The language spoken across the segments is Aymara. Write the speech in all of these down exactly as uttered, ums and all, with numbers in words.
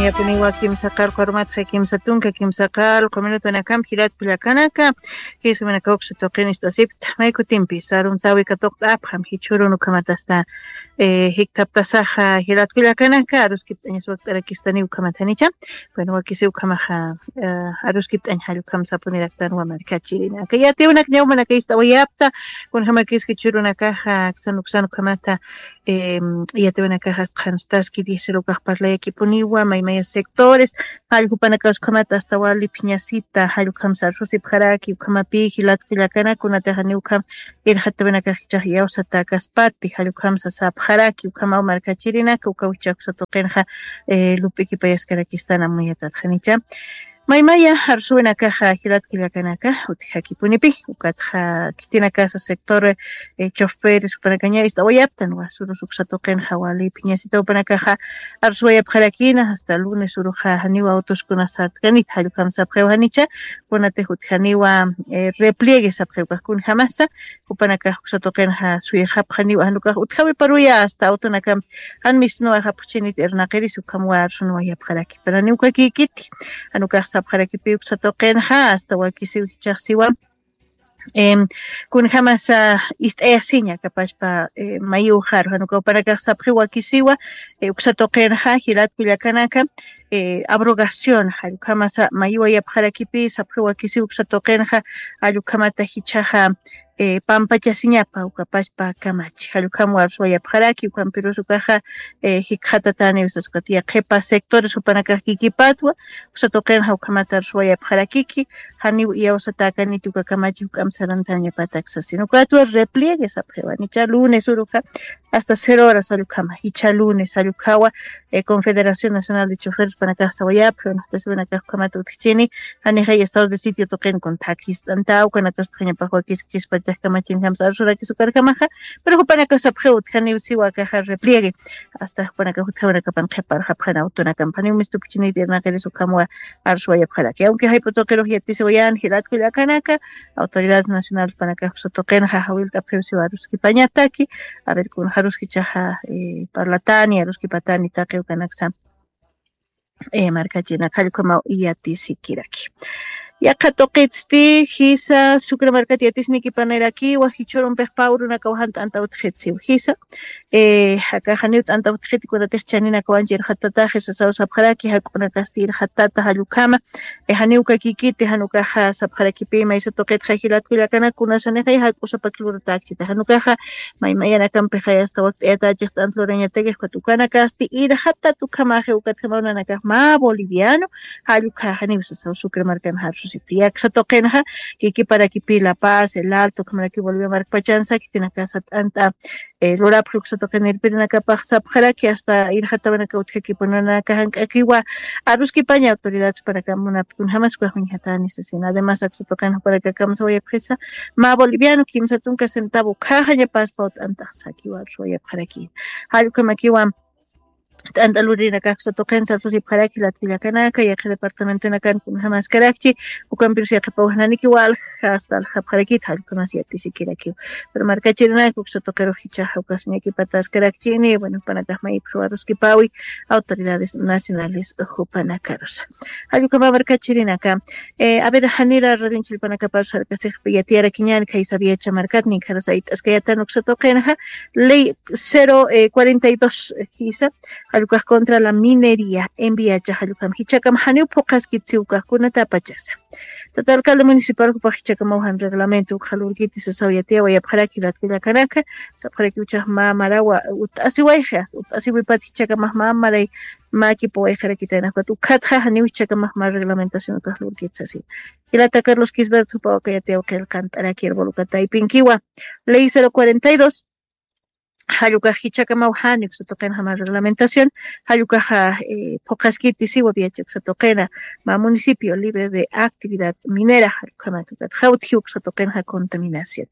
Yapuniwa kimsa qarqu arumatxa kimsa tunka kimsa qarqu minutunakampi jilat kullakanaka, jisminaka uksa tuqin ist'asipta, may kutimpi saruntawi katuqt'apxam jichhürun ukhamatasta, eh, jikthaptasaxa jilat kullakanaka, aruskipt'añas wakt'arakistani ukhamatanicha. Bueno, wakisi ukhamaxa, eh, aruskipt'añ jall ukham sapuniraktanwa markachirinaka. Yatiwinaka ñawmanaka ist'awayapta, kunjamakis jichhürunakaxa, aksan uksan ukhamata, em, yatiwinakaxas qhanstaski diesel ukax parlayakipuniwa, maymaya sectores, jall jupanakas ukhamata hasta wali phiñasita, jall ukham sarsusipxaraki, ukhamapi jilat kullakanaka, kunatixa niw ukham irxatawinakax jichhax iyawsatakaspati, jall ukham sasapxaraki, ukhamaw markachirinaka, ukaw jichhax uksa tuqinxa, eh, lup'ikipayaskarakistana muyatatxanicha. Maymaya arsuwinakaxa jilat kullakanaka, utjakipunipi, ukatxa khitinakasa sector, eh, choferes jupanakaña ist'awayaptanwa, surus uksa tuqinxa wali phiñasita jupanakaxa arsuwayapxarakina, hasta lunes uruxa janiwa autoskuna sartkanit, jall ukham sapxiw janicha, kunatix utjaniwa, eh, repliegue sapxiw ukax kunjamasa, jupanakax uksa tuqinxa suyxapxaniwa, jan ukax utjawiparuya hasta autonakampi, jan mistunwa japxchinit irnaqiris ukhamwa arsunwa yapxaraki. Pero niw ukakïkiti, jan ukax sapxarakipi uksa tuqinxa, hasta wakisiw jichhax siwa, em, kunjamasa ist'ayasiña kapachpa, eh, mayuxaru, jan ukax jupanakax sapxiw wakisiwa, eh, uksa tuqinxa, jilat kullakanaka, eh, abrogación, jall ukhamasa mayuwa yapxarakipi, sapxiw wakisiw uksa tuqinxa, jall ukhamata jichhaxa, eh, pampachasiñapa ukapachpa kamachi. Jall ukham arsuwayapxaraki, ukhampirus ukaxa, eh, jikxatataniw sas ukat yaqhipa sectores jupanakax kikipatwa, uksa tuqinxa ukhamata arsuwayapxarakiki, janiw iyawsatakaniti uka kamachi juk'amp sarantañapatak sasin. Ukatwa repliegue sapxiwa, nicha lunes uruxa, hasta cero horas jall ukhama, jichha lunes jall ukhawa, eh, Confederación Nacional de Choferes jupanakax sawayapxi, unaxtasiwinakax ukhamata utjchini, janixay estado de sitio tuqin kunthak jist'antaw, ukanakastxañapax wakiskchispachak kamachinjamsa arsurakis ukarjamaxa, pero jupanakax sapxiw utjaniw siwa akaxa repliegue, hasta jupanakax utjawinakapan qhiparxapxan autonakampa, janiw mistupchinit irnaqiris ukhamwa arsuwayapxaraki. Aunque jayp'u tuqirux yatisiwayan jilat kullakanaka, autoridades nacionales jupanakax uksa tuqinxa jawillt'apxiw siwa aruskipañataki, a ver, kunjaruskichaxa, eh, parlatani, aruskipatani taqi ukanaksa. Eh, markachirinaka jall ukhamaw yatisikiraki. Yaqha tuqitsti, jisa, Sucre markat yatisnikipanirakiwa, jichhürumpix pä urunakaw jan t'anta utjitsiw, jisa. Eh, akaxa janiw t'anta utjiti, kunatix chaninakawanchi irxatataxi sasaw sapxaraki, jak'unakasti irxatata jall ukhama, eh, janiw ukakïkiti, jan ukaxa sapxarakipi, maysa tuqitxa jilat kullakanaka, kunasanixay jak'usapak luratäkchita, jan ukaxa, maymayanakampi jay hasta wakt'ayatachix t'ant lurañatakix, ukat ukanakasti irxatat ukhamaxi, ukatjamaw nanakax mä boliviano, jall ukhaxa niw sasaw Sucre markanxa arsusipti. Aksa tuqinxa, kikiparakipi La Paz, El Alto, ukhamarakiw Bolivia markpachansa, khitinakasa t'ant'a, eh, lurapxi uksa tuqin irpirinakapax sapxaraki, hasta irxatawinaka utjakipuni nanakax jank'akiwa aruskipaña autoridades jupanakam munapxi kunjamas ukax uñjatani sasin. Además, aksa tuqin jupanakakamsa wayapxisa, mä boliviano kimsa tunka centavo ukhaxañapaspaw t'antax sakiwa arsuwayapxaraki. Jall ukhamakiwa t'anta lurinakax uksa tuqin sarsusipxaraki jilat kullakanaka, yaqha departamentonakan kunjamaskarakchi, ukampirus yaqhipaw janikiw alja hasta aljapxarakit, jall ukhamas yatisikirakiw. Pero markachirinaka uksa tuqirux jichhaxa ukas ñakipataskarakchini, bueno, jupanakax mayipxiw aruskipawi autoridades nacionales jupanakarusa. Jall ukhama markachirinaka, eh, a ver, janira radio anchhillpanakaparus sarkasixpi yatiyarakiñäni, khaysa Viacha markat, ninkharas ayt'askayätan uksa tuqinxa, ley cero, eh, cuarenta y dos, eh, jisa, jall ukax contra la minería en Viacha, jall ukham jichhakam janiw phuqhaskit siw ukax kunatapachasa. Tata alcalde municipal jupax jichhakamaw jan reglamento ukxa lurkiti sasaw yatiyawayapxaraki jilat kullakanaka, sapxaraki uchax mä marawa ut'asiwayxi, hasta ut'asiwipat jichhakamax mä maray mäkipuwayxarakitayna, ukat ukhatxa janiw jichhakamax mä reglamentación ukax lurkit sasin. Jilata Carlos Quisbert jupaw aka yatiyaw qillqant'araki, hermano, uka taypinkiwa. Ley cero cuarenta y dos, jall ukax jichhakamaw jani uksa tuqinxa mä reglamentación, jall ukaxa, eh, phuqhaskiti siwa Viacha uksa tuqina, mä municipio libre de actividad minera, jall ukhamat ukat jawtji uksa tuqinxa contaminación.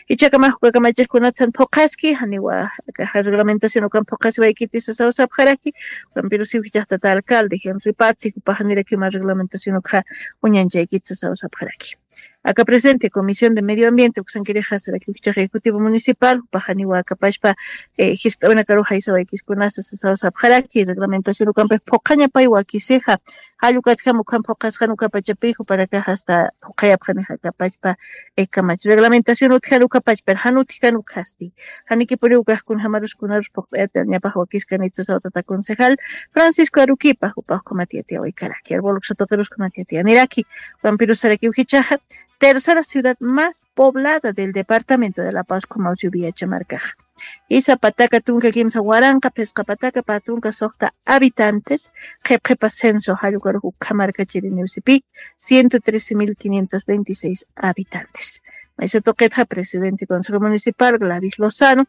Jichhakamax uka kamachix kunatsan phuqhaski, janiwa akaxa reglamentación ukan phuqhasiwaykiti sasaw sapxaraki, ukampirusiw jichhax tata alcalde Henry Patzi jupax janirakiw mä reglamentación ukxa uñanchaykiti sasaw sapxaraki. Aka presidente Comisión de Medio Ambiente uksankirixa sarakiw jichhax ejecutivo municipal jupax janiwa akapachpa, eh, jiskt'awinakaruxa isawaykiskunasa sasaw sapxaraki reglamentación ukampix phuqhañapay wakisixa. Jall ukatjam ukham phuqhasxan ukapachapï jupanakax hasta phuqhayapxanixa akapachpa, eh, kamach reglamentación utjan ukapachpar jan utjkan ukhasti. Janikipuniw ukax kunjamarus kunarus phuqt'ayatañapax wakiskanit sasaw tata concejal Francisco Aruquipa jupax ukhamat yatiyawaykaraki. Arbol uksa tuqirus ukhamat yatiyaniraki. Ukampirus sarakiw jichhaxa tercera ciudad más poblada del departamento de La Paz, Comaucio Viacha markaxa. Isa pataka tunka kimsa waranqa phisqa pataka pä tunka suxta habitantes, qhipqhipa censo jall ukarux ukhamarkachiriniw sipï, ciento trece mil quinientos veintiséis habitantes. Maysa tuqitxa presidente Consejo Municipal Gladys Lozano,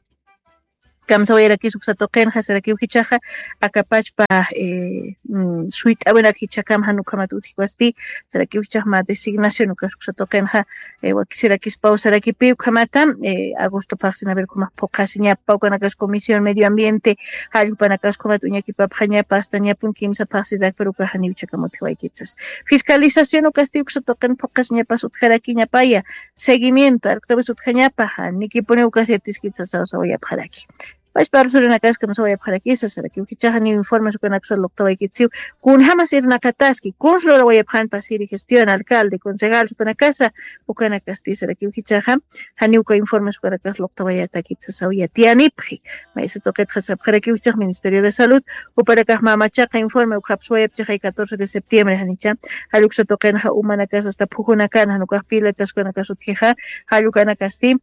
kamsawayarakis uksa tuqinxa sarakiw jichhaxa, akapachpa, eh, mm, suyt'awinak jichhakam jan ukhamat utjiwasti, sarakiw jichhax mä designación ukas uksa tuqinxa, eh, wakisirakispaw sarakipï ukhamata, eh, agosto phaxsin a ver ukhamat phuqhasiñapa ukanakas comisión medio ambiente, jall jupanakas ukhamat uñakipapxañapa, hasta ñapun kimsa phaxsidak, pero ukax janiw jichhakam utjiwaykit sas. Fiscalización ukasti uksa tuqin phuqhasiñapas utjarakiñapaya, seguimiento, arktawis utjañapa, janikipuniw ukas yatiskit sasaw sawayapxaraki. Pachpa arsurinakaskam sawayapxarakisa, sarakiw jichhaxa janiw informes ukanaksa luqtawaykit siw, kunjamas irnaqataski, kuns lurawayapxan pasiri gestión, alcalde, concejal, supanakasa, ukanakasti sarakiw jichhaxa, janiw uka informes ukanakas luqtawayatakit sasaw yatiyanipxi. Maysa tuqitxa sapxarakiw jichhax Ministerio de Salud, jupanakax mä machaqa informe ukxapsuwayap jichhaxay catorce de septiembre janicha, jall uksa tuqinxa umanakas hasta phujunakan jan ukax piletas ukanakas utjixa, jall ukanakasti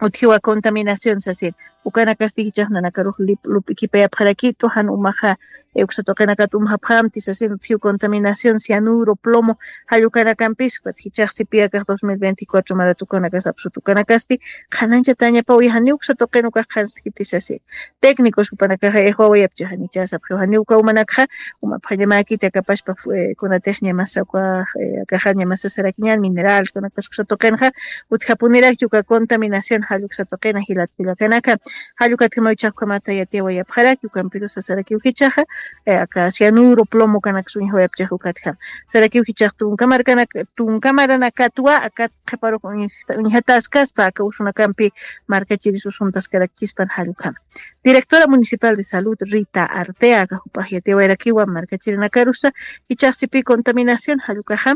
utjiwa contaminación sasin. Ukanakasti jichhax nanakarux lip-, lup'ikipayapxarakitu, jan umaxa, eh, uksa tuqinakat umxapxamti sasin, utjiw contaminación, cianuro, plomo, jall ukanakampis, ukat jichhax sipï akax dos mil veinticuatro marat ukanakas apsut ukanakasti, qhanañchatañapaw janiw uksa tuqin ukax qhanskiti sasin. Técnicos jupanakaxa ixwawayapchi janicha sapxiw, janiw uka umanakxa, umapxañamäkiti akapachpa, eh, kunatix ñamasa uka, eh, akaxa ñamasa sarakiñan mineral, ukanakasa uksa tuqinxa, utjapunirakchi uka contaminación, jall uksa tuqina jilat kullakanaka, jall ukatjamaw jichhax ukhamata yatiyawayapxaraki, ukampirusa sarakiw jichhaxa, eh, aka cianuro, plomo ukanaksa uñjawayapchix ukatjam. Sarakiw jichhax tunka markanak-, tunka maranakatwa, akat qhiparux uñj-, uñjataskaspa, aka usunakampi markachiris usuntaskarakchispan jall ukhama. Directora Municipal de Salud, Rita Arteaga, jupax yatiyawayarakiwa markachirinakarusa, jichhax sipï contaminación, jall ukaxa,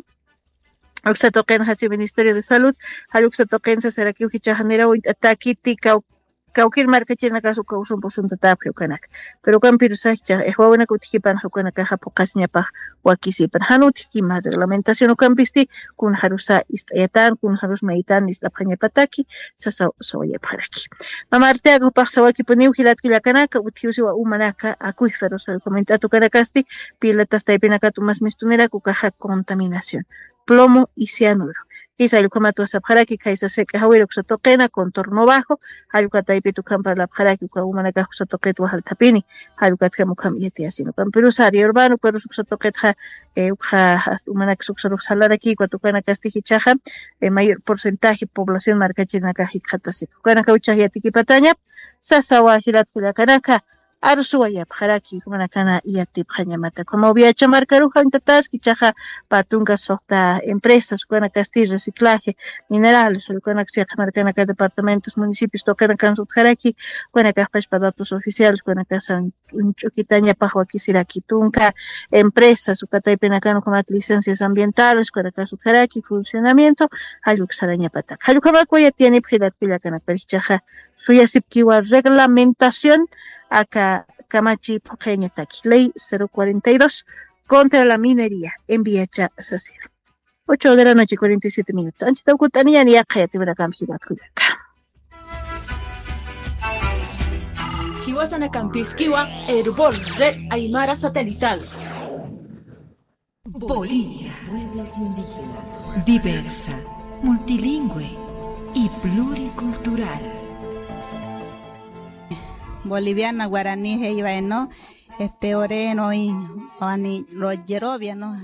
uksa tuqinxa si Ministerio de Salud, jall uksa tuqinsa sarakiw jichhaxa niraw uñt'atäkiti kaw-, kawkir markachirinakas uka usumpux suntatäpxi ukanaka. Pero ukampirusa jichhax, eh, ixwawinak utjkipanxa ukanakaxa phuqhasiñapax wakisipan. Jan utjkima reglamentación ukampisti, kunxarusa ist'ayatan, kunxarus mayitan ist'apxañapataki, sasaw sawayapxaraki. Mama Arteaga jupax sawakipuniw jilat kullakanaka, utjiw siwa umanaka, akuyxarusa recomendat ukanakasti, piletas taypinakat umas mistunirak ukaxa contaminación. Plomo y cianuro. Jisa jall ukhamat sapxaraki, khaysa sik'a jawir uksa tuqina, contorno bajo, jall uka taypit ukham parlapxaraki, uka umanakax uksa tuqitwa jaltapini, jall ukatjam ukham yatiyasin. Ukampirusa área urbana, ukarus uksa tuqitxa, eh, ukxa hasta umanaksa uksarux salarakï, ukat ukanakasti jichhaxa, eh, mayor porcentaje población markachirinakax jikxatasipxi. Ukanakaw jichhax yatikipatañap, sasawa jilat kullakanaka, arsuwayapxaraki, jumanakana yatipxañamata. Como Viacha markaruxa uñtataski jichhaxa pä tunka suxta empresas, ukanakasti reciclaje, minerales, ukanaksa yaqha markanaka departamentos, municipios tuqinakansa utjaraki, ukanakax pachpa datos oficiales, ukanakasa uñch'ukitañapax wakisiraki tunka empresas, uka taypinakan ukhamat licencias ambientales, ukanakas utjaraki, funcionamiento, jall uksarañapatak. Jall ukhamakwa yatiyanipxi jilat kullakanaka, pero jichhaxa suyasipkiwa reglamentación aka kamachi phuqhayañataki, ley cero cuarenta y dos contra la minería en Viacha sasina. Ocho de la noche, cuarenta y siete minutos. Anchita ukut'aniyan yaqha yatipinakampi jilat kullaka. Jiwasanakampiskiwa Erbol, Red Aymara Satelital. Bolivia. Pueblos indígenas. Diversa, multilingüe y pluricultural. Boliviana guaraní, heyvaeno, este, oreno, y, ani, rogerovia, ¿no?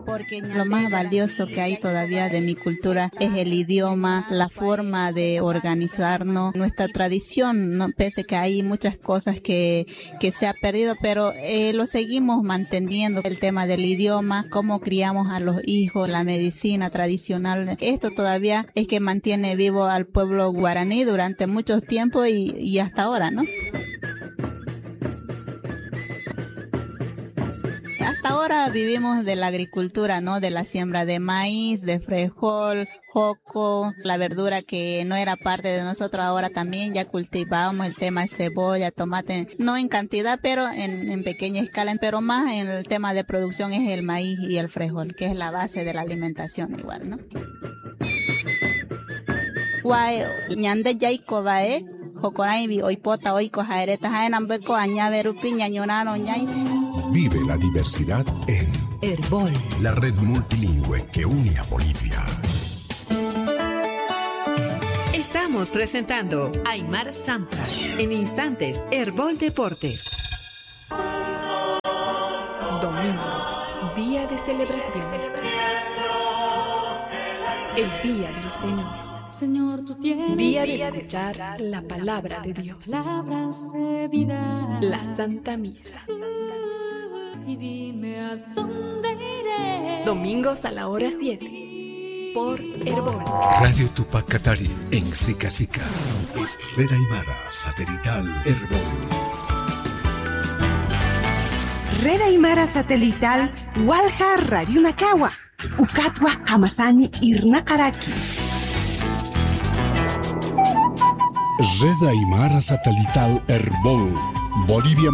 Porque lo más valioso que hay todavía de mi cultura es el idioma, la forma de organizarnos, nuestra tradición, ¿no? Pese que hay muchas cosas que, que se ha perdido, pero, eh, lo seguimos manteniendo. El tema del idioma, cómo criamos a los hijos, la medicina tradicional, esto todavía es que mantiene vivo al pueblo guaraní durante muchos tiempos y, y hasta ahora, ¿no? Hasta ahora vivimos de la agricultura, ¿no? De la siembra de maíz, de frijol, joco, la verdura que no era parte de nosotros, ahora también ya cultivamos el tema de cebolla, tomate, no en cantidad, pero en, en pequeña escala, pero más en el tema de producción es el maíz y el frijol, que es la base de la alimentación igual, ¿no? Wae, ñande yayko wae, jokorañwi oipota oiko jaereta, jaenambeko añawerupi ñañonano ñay. Vive la diversidad en Erbol, la red multilingüe que une a Bolivia. Estamos presentando Aymar Samsa. En instantes, Erbol Deportes. Domingo, día de celebración. El día del Señor. Señor, tú tienes día de día de escuchar la palabra de Dios. Palabras de vida. La Santa Misa. Y dime a dónde iré. Domingos a la hora siete. Por Erbol. Radio Tupac Katari en Sica Sica. Es Red Aymara Satelital Erbol. Red Aymara Satelital Walja Radio Nakawa. Ukatwa jamasani irnaqaraki. Red Aymara Satelital Erbol. Bolivia